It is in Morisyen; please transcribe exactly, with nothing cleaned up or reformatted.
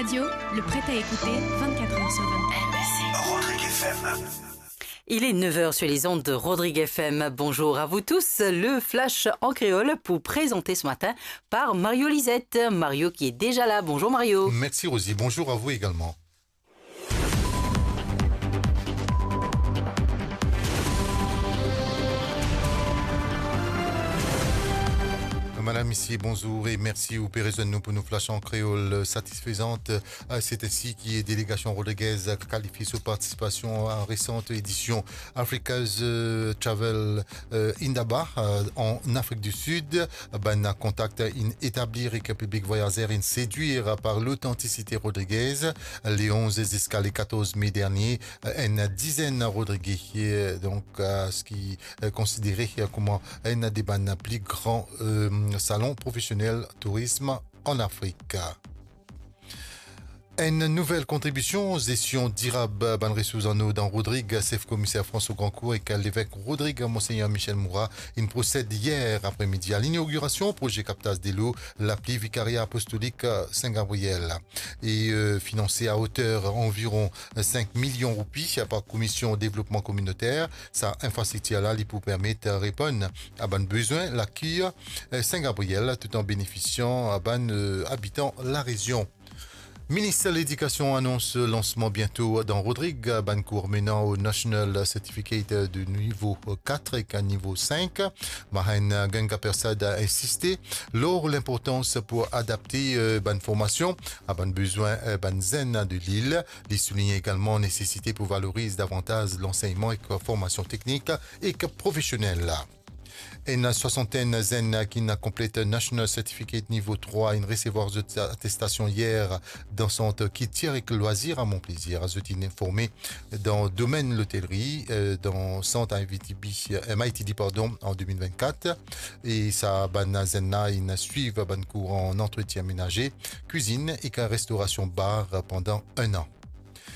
Radio, le prêt à écouter vingt-quatre heures sur vingt-quatre. Rodrigue F M. Il est neuf heures sur les ondes de Rodrigue F M. Bonjour à vous tous. Le Flash en créole pour présenter ce matin par Mario Lisette. Mario qui est déjà là. Bonjour Mario. Merci Rosie. Bonjour à vous également. Madam, misie, bonzour e mersi ou pe rezwenn nou pou nou Flash an Kreol. Satisfezant, euh, c'est ainsi ki delegasion rodrigez kalifie so partisipasion a resant edision Africa's, euh, Travel, euh, Indaba, euh, an Afrik di Sid. Bann kontak inn etablir ek piblik vwayazer inn sedwir par lotantisite rodrigez. Le onz ziska le katorz me dernie, enn dizenn Rodrige, euh, donk, euh, ki, euh, konsidere, euh, kouma enn de bann pli gran, euh, salon profesionel tourism an Afrik. Enn nouvel kontribision, zestion dirab bann resours an-o dan Rodrig, sef komiser François Grandcourt ek levek Rodrig, Monseigneur Michel Moura, inn prosed yer apremidi a linogirasion proze kaptaz delo lapli Vikaria Apostolik Sin Gabriel. E, euh, finanse a oter anviron sink milion roupi par Komision Devlopman Kominoter, sa infrastriktir la, li pou permet reponn a bann bezwin lakir, euh, Sin Gabriel, tout an benefisian a bann, euh, abitan larezion. Minis Ledikasion anons lansman biento dan Rodrig bann kour menan o National Certificate de nivo kat ek nivo sink. Mahenna Gangappersad insiste lor linportans pou adapte, euh, bann formasion a bann bezwin, euh, bann zenn de lil. Li souligne egalman nesesite pou valoriz davantaz lansegnman ek formasion teknik ek profesionel. Enn swasantenn zenn ki'nn konplet National Certificate nivo trwa inn resevwar zot atestasion yer dan sant Kiltir ek Lwazir a Mon Plaisir. Zot inn forme dan domenn lotelri, euh, dan sant M I T B, euh, M I T D, pardon, an de mil vennkat. E sa bann zenn la inn swiv bann kour an antretien menaze, kwizinn ek restorasion bar pandan enn an.